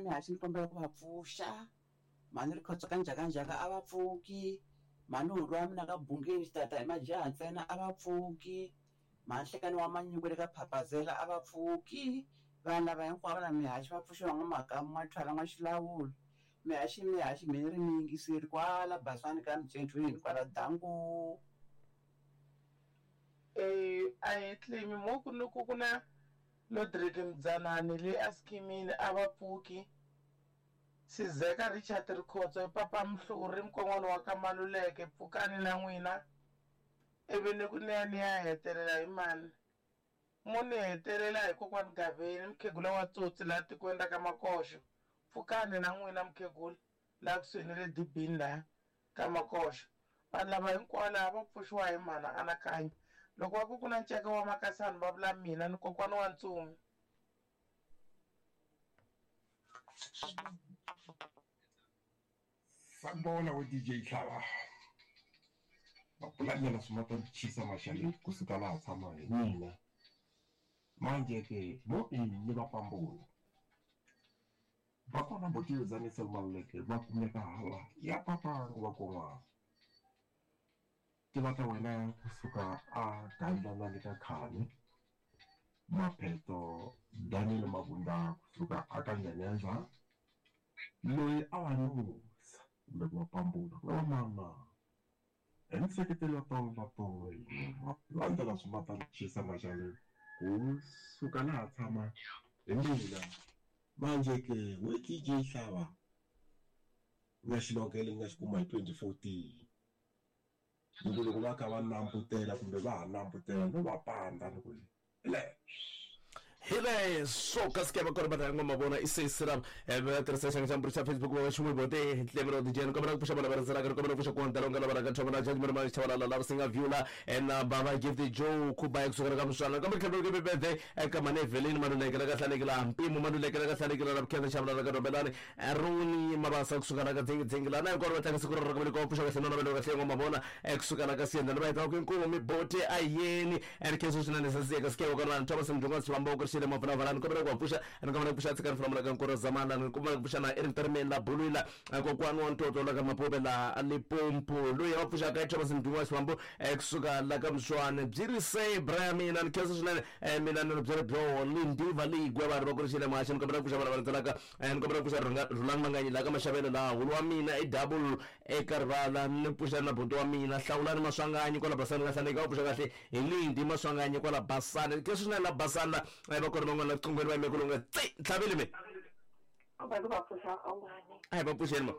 mihaxi ni kombela ku va pfuxa. Mhani Rikhotso ka njhakanjhaka a va pfuki. Mhani Hulu wa mina ka Bungeni xitata hi majaha ntsena a va pfuki. Mhani Hlekani wa Manyuku le ka Phapazela a va pfuki. Vanhu lava hinkwavo na mihaxi va pfuxiwa N'wa-Makamu N'wa-Thwala N'wa-Xilawulo. Mihaxi mihaxi mi ri mi yingiseri kwala Basani ka Mcentweni kwala Danko. A hi tlimi mo ku ni ku ku na Lodrick Mdzanani le a skimini a va pfuki. Sizeka Richard Rikhotso Papa Mhluri mukon'wana wa ka Maluleke pfukani na n'wina ivi ni ku ni ya ni ya hetelela hi mani mo ni hetelela hi kokwani Gaveni mukhegula wa tsotsi laha tikweni ra ka Makoxo pfukani na n'wina mukhegula laha kusuhi ni le dibini laha ka Makoxo vanhu lava hinkwavo laha va pfuxiwa hi mhana anakanya loko va ku ku na nceka wa makasani va vula mina ni kokwana wa ntsumi. Sanibona we DJ Hlava. Mapulanyana swi ma ta chisa maxaleni kusuka laha tshama hi mina. Manje ke mo ni va pambula. Va kona botiyo Nisel Maluleke va kumeka hala ya papangu va kon'wana. Tiva ta wena kusuka a Gandlana le ka Khani. Mapheto Daniel Mabunda kusuka a ka Nyaneza. Loyi a va nusa kumbe ku va pambula ku nga va mama. Hi nseketelo wa tolo na tolo va landzela swi ma ta chisa maxaleni kusuka laha tshama hi mina. Manje ke we DJ Hlava nga xilogele nga xi kuma hi 2014. Loko loko va kha va nambutela kumbe va ha nambutela no va panda loko le. Hi so kasi ke va kona va ngoma vona i se sira va tirhisa xanga xa mburi xa Facebook va xin'we bote tlevero DJ ni kombela ku pfuxa vana va rhandzaka ni kombela ku pfuxa ku ndalonga lava raka thoma na judge mara xavalala lava singa viewla na baba gift Joe Kuba kusuka ka muswana kombela tlhelo ke birthday eka mane Evelyn Maluleke la ka hlalekela mpimo Maluleke la ka hlalekela la khensa xavalala ka Dombelani Runi Mabasa kusuka la ka dzingi dzingi la na hinkwaro va tlanga siku ra ka ko pfuxa kahle na navelo kahle ngoma vona kusuka la ka siyenda va heta ku inkomo mi bote ayeni and khensa swinene sasiyeka sikewa kona Thomas Mdunga Sibambo ku xile mavula valani kombela ku pfuxa ni kombela ku pfuxa tshikani flamula ka nkoro zamana ni kombela ku pfuxa na Eric Termen la Bulwila kokwani wa ntoto la ka Mapobe la Limpopo loyi va pfuxa ka Thomas Mdunga Sibambo kusuka la ka Mswane byi ri se bra mina ni khensa swinene mina ni byele byo lindiva ligwe vanhu va ku ri xile maxa ni kombela ku pfuxa vana va landzelaka ni kombela ku pfuxa Rhulani Manganyi la ka Maxavelo la hulu wa mina i double eka rivala ni pfuxa na buti wa mina Hlawulani Maswanganyi kwala Basani ka Hlaleka va pfuxa kahle hi Lindi Maswanganyi kwala Basani ke swinene la Basani la va kona van'wana la qungweni va yime ku longa tsi ntlhaveli me va va pfuxa un'wana a hi va pfuxeni ma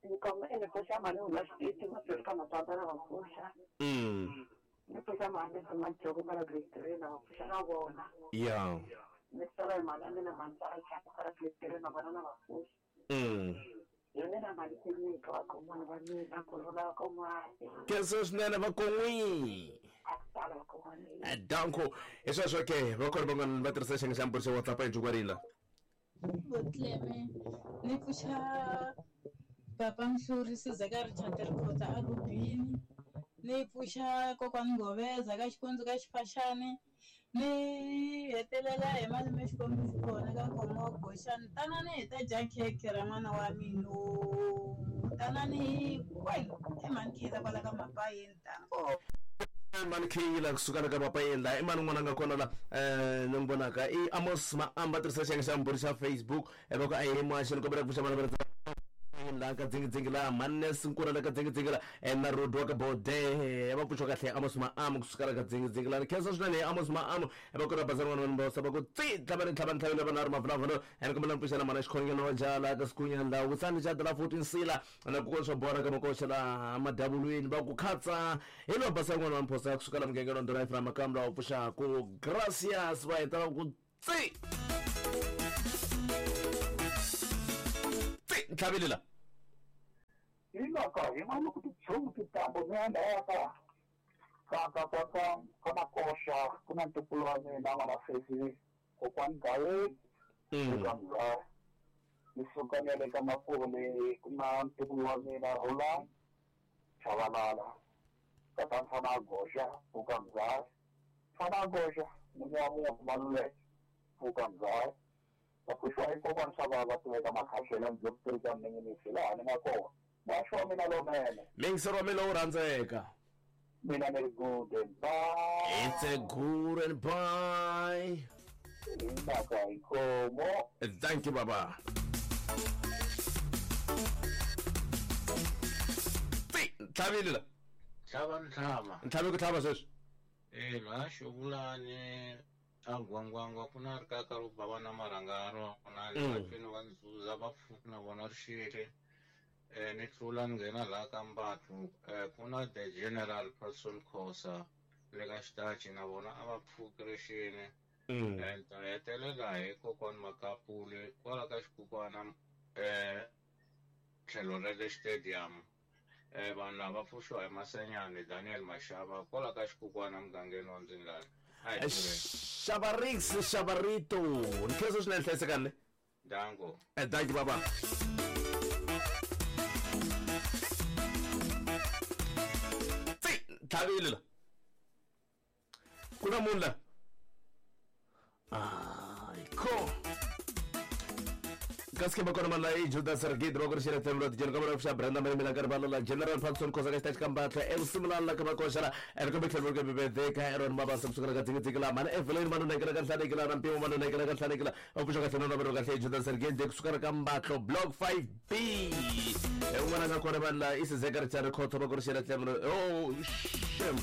ni kombela ni pfuxa mali huma xititi ma ka matswatsa na va pfuxa ni pfuxa mali majoko kwala grade 3 na va pfuxa na vona ya ni sala hi mali ya mina mali kwala grade 3 na vona na va pfuxa hi mina mali tinyika vakon'wana va mina ku rhula vakon'wana khensa swinene vakon'wi a ku tala vakon'wana danko hi sweswo ke va kona van'wana va tirhisa xiyenge xa mburi xa WhatsApp a hi jukwarila Botleme ni pfuxa papa Mhluri Sizeka Richard Rikhotsa a Rubini ni pfuxa kokwani Ngoveza ka Xikundzu ka Xifaxani ni hetelela hi malume Xikwembu xi kona ka Nkomo wa Goxani tanani hi ta dya khekhe ra n'wana wa mina tanani kwenu i mhani Khila kwala ka Mapayeni tanko. Mani Khila kusuka la ka Mapayeni la i mani n'wana nga kona la ni n'wi vonaka i Amos Maamba tirhisa xiyenge xa mburi xa Facebook va ku a hi muhaxi ni kombela ku pfuxa vana va la ka dzingidzingi la Mannes Nkuna la ka dzingidzingi la na Rodi wa ka Bode va pfuxa kahle Amos Maamu kusuka la ka dzingidzingi la ni khensa swinene Amos Maamu va kona bazana n'wana vanhu va va ku tsi tlhavani tlhavani tlhaveni va na ri mavulavula ni kombela ni pfuxa na mana xikhongelo wa jala ka sikunya la wusani xa la 14 sila na ku swa bora ka makoxa la madavulwini va ku khatsa hi lo basa n'wana wa mphosa kusuka la mugangeni wa Ndhuna Ephraim Makamu la pfuxa ku gracias va heta va ku tsi tsi ntlhaveli la hi loko hi vona ku tichumu titambo mi ya ndhawu ka ka ka ka ka ka Makoxa ku na ntukulu wa mina n'wana sesi kokwani Gaweni eka Mzaya ni suka ni ya le ka Mapole ku na ntukulu wa mina Rhulani Chavalala tata Mfana Goxa pfuka Mzaya Mfana Goxa munhu wa munhu Maluleke pfuka Mzaya va pfuxa. Pfuxiwa hi kokwana swa vava tiveka makhahlelo ndzi ka mninginisi laha ni nga kona. Muhaxi wa mina lowunene. Miyingiseri wa mina lowu rhandzeka. Mina ni ri good and bye. It's a good and bye. Hi mhaka inkomo. Thank you baba. Tsi, tlhavile la. Tlhava ni tlhava. Ntlhavi ku tlhava sweswi. Eh, la xovulani a gwangwangwa ku na rikaka ro bava na marhanga ya rona ni vatweni va nzuza va pfuki na vona ri xile. Ni tlula ni nghena laha ka Mbatlu ku na the general Patson Khosa le ka xitachi na vona a va pfuki ri xini. Ni ta hetelela hi kokwani Makapuli kwala ka xikukwana tlhelo ra le stadium. Vanhu lava pfuxiwa hi Masenyani Daniel Mashava kwala ka xikukwana mugangeni wa Ndzingani. A hi tirheni. Xavarix xavarito. Ni khensa swinene hlayisekani ne. Danko. Thank you baba. Tsi, tlhavile la. Ku na munhu la. Ai, ko. Kasi ke bakona mala i Judas Sergei ro ri xela themlo tijeni ka vona xa Brenda Marimela ka rivala la General Patson Khosa ka xitachi ka Mbatla evusimulani la ka Makoxela eri kumbe tlhelo ka Bibede ka Aaron Mabasa kusukela ka dzingidzingi la mhani Evelyn Manonekela ka Nhlanekela na Mpimo Manonekela ka Nhlanekela va pfuxa kahle na vero kahle Judas Sergei de kusukela ka Mbatlo Block 5B un'wana nga kona vanhu la i Sizeka Richard Khotho va ku ri xela themlo oh shem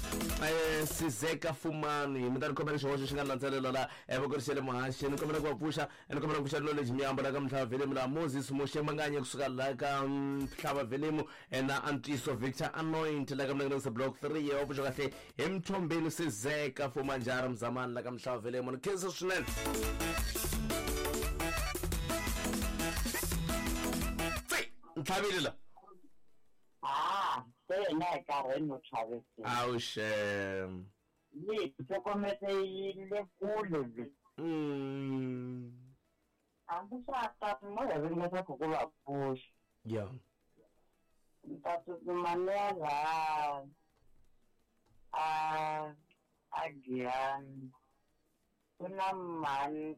Sizeka Fumani mi ta ni khomela xihoxo xi nga landzelela la va ku ri xele muhaxi ni kombela ku va pfuxa ni kombela ku pfuxa knowledge miyambo la ka Mhlava Velimu la Moses Moshe Manganye kusuka la ka Mhlava Velimu na Antiso Victor Anoint la ka Mlangeni Block 3 wa pfuxa kahle hi Mthombeni Sizeka Fumanjara Mzamani la ka Mhlava Velimu ni khensa swinene. Tsi, ntlhavile la. Ah, se yena hi karheni no chavisi. Awu shem. Yi hlokomete yi le kule le. Hambi swa ta mo hi ringeta ku va pfuxa. Yeah. Ni ta tsutsuma ni ya laha a Giyani. Ku na mhani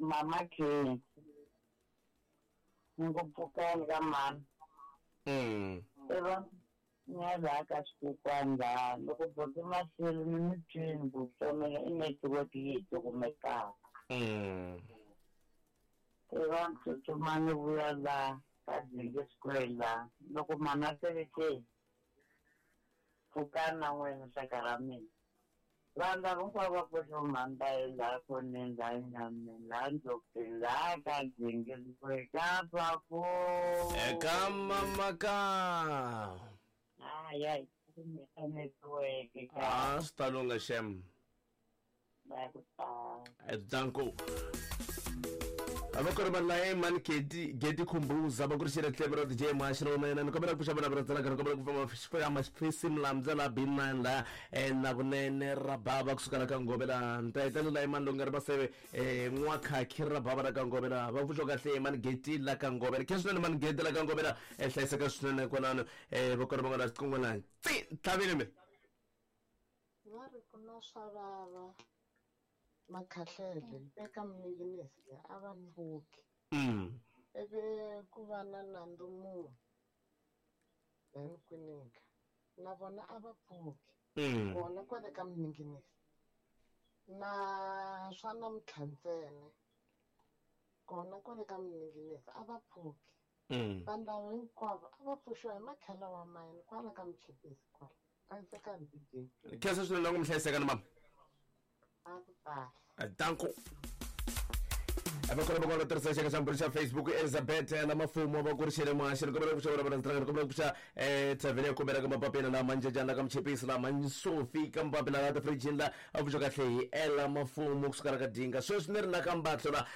mama Khensi. Ni ku pfukani ka mhani. I va ni ya laha ka xikokwani laha loko buti Masilo ni mi twini ku tsomela i network yi hi cukumetaka. I va ni tsutsuma ni vuya laha ka Dzingi Square laha loko mhani a sele ke pfukani na n'wina xaka ra mina. Vanhu lava hinkwavo va pfuxa mhani va ye laha khoneni laha nyameni laha ndlopfeni laha ka Dzingi Square ka Papu. Eka mamaka. Hayi hayi kumeka network ka. Ah, swi ta lungha shem. Va ku tala. Danko. A va ku ri vanhu laye mani Geti Geti Khumbuza va ku ri xele tlhelo ra DJ Muhaxi ra wena ni kombela ku pfuxa vana va rhandzana ni kombela ku pfuxa mafisi mlamza la B9 la na vunene ra bava kusuka la ka Ngove la ni ta hetelela la mani longa ri maseve n'wakhakhi ra bava la ka Ngove la va pfuxa kahle mani Geti la ka Ngove la khensa swinene mani Geti la ka Ngove la hlayiseka swinene kwalano va kona van'wana xiqongwana tsi tlhavile mi va ri ku na swa vava makhahlele eka mninginisi a va pfuki. Ivi ku va na nandzu munhu then kwinika na vona a va pfuki. Kona kwale ka mninginisi na swa namuntlha ntsena kona kwale ka mninginisi a va pfuki. Vanhu lava hinkwavo a va pfuxiwa hi makhela wa mayini kwala ka Mchipisi kwala. Hlayiseka DJ. Khensa swinene loko mi hlayiseka ni mama. A ku kahle. Danko. Va kona va kona tirhisa xaka xa mbirhi xa Facebook Elizabeth na mafumo va ku ri xele muhaxi ni kombela ku pfuxa vona vana ni kombela ku pfuxa thavhele ya kombela ka mapapila la manjejana la ka Mchipisi la Mansofi ka mapapila la tifrijini la a pfuxa kahle hi Ella Mafumo kusuka la ka Dinga sweswi ni ri la ka Mbatlo la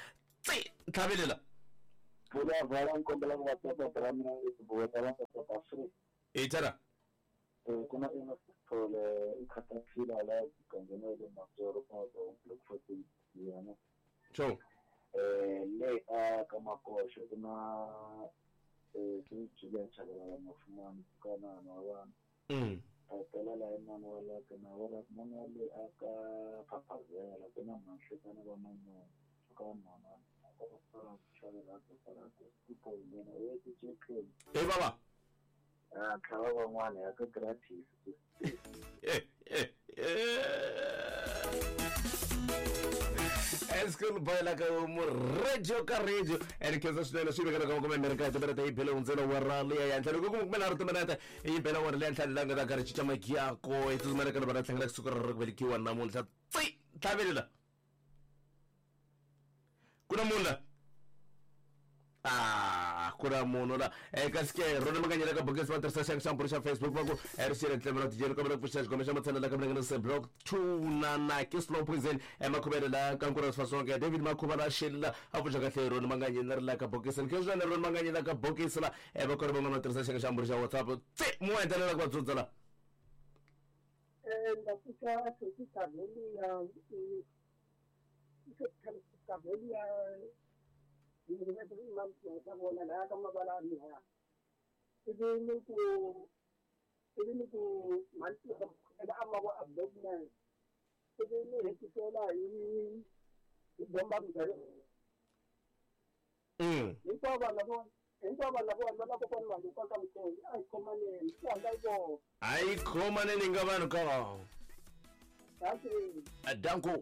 tsi ntlhavile la. Pfula vala ni kombela ku va tata ra mina buweta va South Africa. I tara. Ku na Enoch Sithole i Caterpillar la mugangeni wa le Manzoro ka Block 14 yana. Sure. Le a ka Makoxo ku na Julian Chabalala Mafumani ka na wa vanhu. Hetelela hi mani wa la ka na wa mani wa le a ka Phaphazela ku na Mhanhlekana va Manyoni ka mhana. Hey baba. Ah, tlhava van'wana ya ka gratis. School boy la ka mu radio ka radio and khensa swinene swi vekela ka kumbe Amerika timinete yi bele hundzela wa ra liya ya ntlhanu ku kumbe na ri timinete yi bela wa ri liya ntlhanu la nga ta karhi cinca magiyako hi tsutsumela ka va tlangela kusuka ra ku velekiwa namuntlha tsi tlhavelela ku na munhu la ah ku na munhu la kasi ke rona makanyela ka bokisi va tirhisa xangu xa mbhuri xa Facebook va ku rixile ntlemo ra tijeni kombela ku pfuxa xikombe xa matshana la ka mlangeni se block 2 na na ke slow poison emakhuvele la ka nkura swa David Makhuva la xela a pfuxa kahle rona manganyela ri la ka bokisi ni khensa rona manganyela ka bokisi la va kona van'wana va tirhisa xangu xa mbhuri xa WhatsApp tse mu endelela ku va dzudza la ndza pfuxa Kabelia Ai khomaneni nga vanhu ka. Danko.